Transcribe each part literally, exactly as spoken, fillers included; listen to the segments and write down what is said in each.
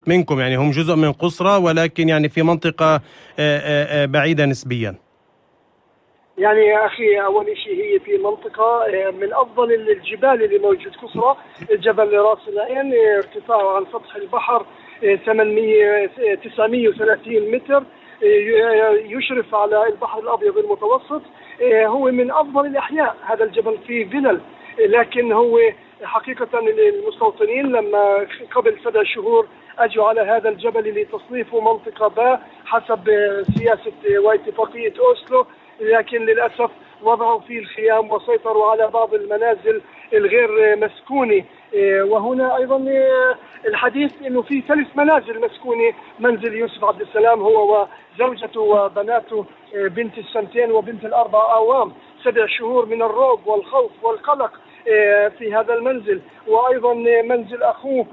منكم، يعني هم جزء من قصرى ولكن يعني في منطقة بعيدة نسبيا. يعني يا أخي أول شيء هي في منطقة من أفضل الجبال اللي موجود قصرى، جبل راس العين ارتفاعه عن سطح البحر ثمانمئة تسعمئة وثلاثين متر، يشرف على البحر الأبيض المتوسط. هو من أفضل الأحياء هذا الجبل، فيه فلل، لكن هو حقيقة المستوطنين لما قبل سبع شهور أجوا على هذا الجبل لتصنيفه منطقة باء حسب سياسة واتفاقية أوسلو، لكن للأسف وضعوا فيه الخيام وسيطروا على بعض المنازل الغير مسكونة. وهنا أيضا الحديث أنه في ثلاث منازل مسكونة، منزل يوسف عبد السلام هو وزوجته وبناته بنت السنتين وبنت الأربع أعوام، سبع شهور من الرعب والخوف والقلق في هذا المنزل، وأيضا منزل أخوه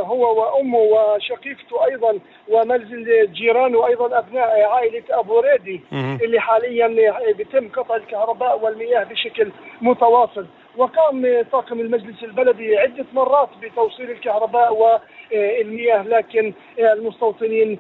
هو وأمه وشقيقته أيضا، ومنزل جيرانه أيضا أبناء عائلة أبو ريدي اللي حاليا بيتم قطع الكهرباء والمياه بشكل متواصل. وقام طاقم المجلس البلدي عدة مرات بتوصيل الكهرباء والمياه، لكن المستوطنين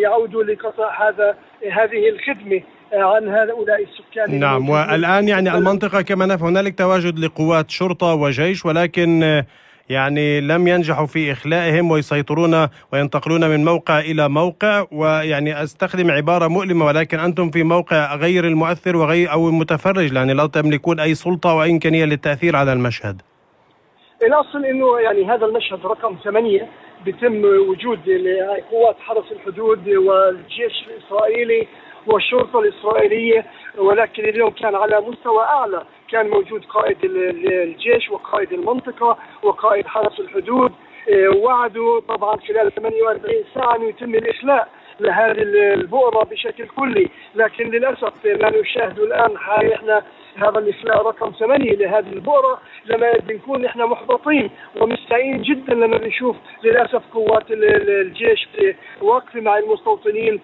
يعودوا لقطع هذا هذه الخدمة عن هؤلاء السكان. نعم، والآن يعني المنطقة كما نعرف هنالك تواجد لقوات شرطة وجيش، ولكن يعني لم ينجحوا في إخلائهم ويسيطرون وينتقلون من موقع إلى موقع، ويعني أستخدم عبارة مؤلمة ولكن أنتم في موقع غير المؤثر وغير أو المتفرج، يعني لا تملكون أي سلطة أو أي إمكانية للتأثير على المشهد. الأصل إنه يعني هذا المشهد رقم ثمانية بيتم وجود قوات حرس الحدود والجيش الإسرائيلي والشرطة الإسرائيلية، ولكن اليوم كان على مستوى أعلى، كان موجود قائد الجيش وقائد المنطقة وقائد حرس الحدود. وعدوا طبعا خلال ثمانية وأربعين ساعة أن يتم الإخلاء لهذه البؤرة بشكل كلي، لكن للأسف ما نشاهده الآن احنا هذا الإخلاء رقم ثمانية لهذه البؤرة، لما بنكون احنا محبطين ومستائين جدا لما بنشوف للأسف قوات الجيش واقفة مع المستوطنين.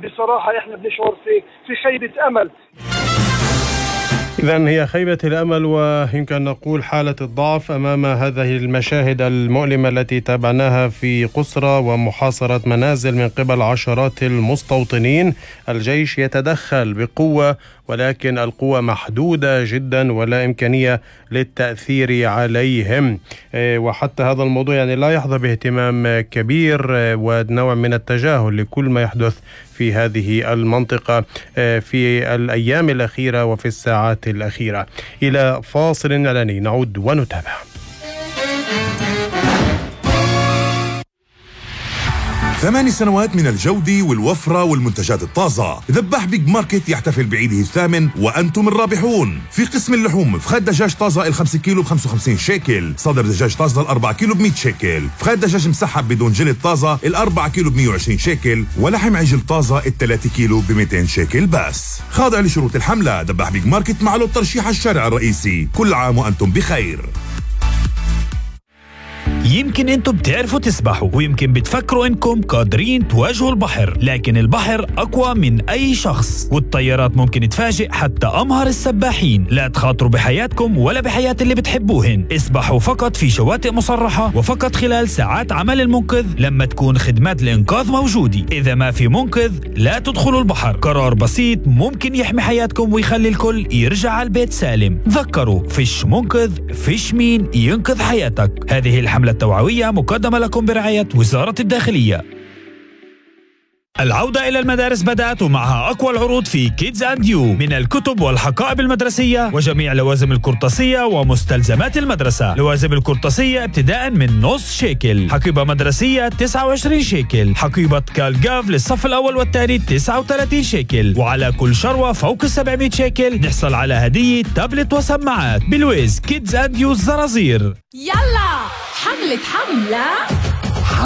بصراحة احنا بنشعر في في خيبة أمل. إذن هي خيبة الأمل ويمكن نقول حالة الضعف أمام هذه المشاهد المؤلمة التي تابعناها في قصرى ومحاصرة منازل من قبل عشرات المستوطنين. الجيش يتدخل بقوة ولكن القوة محدودة جدا ولا إمكانية للتأثير عليهم، وحتى هذا الموضوع يعني لا يحظى باهتمام كبير ونوع من التجاهل لكل ما يحدث في هذه المنطقة في الأيام الأخيرة وفي الساعات الأخيرة. إلى فاصل إعلاني نعود ونتابع. ثمان سنوات من الجودة والوفرة والمنتجات الطازة. ذباح بيج ماركت يحتفل بعيده الثامن وأنتم الرابحون. في قسم اللحوم فخاد دجاج طازة الخمسة كيلو بخمسة وخمسين شيكل، صدر دجاج طازة الأربعة كيلو بمئة شيكل، فخاد دجاج مسحب بدون جلد طازة الأربعة كيلو بمئة وعشرين شيكل، ولحم عجل طازة الثلاثة كيلو بمئتين شيكل بس. خاضع لشروط الحملة. ذباح بيج ماركت مع له ترشيح الشارع الرئيسي. كل عام وأنتم بخير. يمكن انتم بتعرفوا تسبحوا ويمكن بتفكروا انكم قادرين تواجهوا البحر، لكن البحر اقوى من اي شخص والطيارات ممكن تفاجئ حتى امهر السباحين. لا تخاطروا بحياتكم ولا بحياة اللي بتحبوهن. اسبحوا فقط في شواطئ مصرحة وفقط خلال ساعات عمل المنقذ لما تكون خدمات الانقاذ موجودة. اذا ما في منقذ لا تدخلوا البحر. قرار بسيط ممكن يحمي حياتكم ويخلي الكل يرجع على البيت سالم. تذكروا فيش منقذ فيش مين ينقذ حياتك. هذه الحملة التوعوية مقدمة لكم برعاية وزارة الداخلية. العودة إلى المدارس بدأت ومعها أقوى العروض في كيدز أند يو من الكتب والحقائب المدرسية وجميع لوازم القرطاسية ومستلزمات المدرسة. لوازم القرطاسية ابتداء من نص شيكل، حقيبة مدرسية تسعة وعشرين شيكل، حقيبة كالجاف للصف الأول والثاني تسعة وثلاثين شيكل، وعلى كل شروة فوق السبعمئة شيكل نحصل على هدية تابلت وسماعات. بلويز كيدز أند يو الزرازير. يلا حملة حملة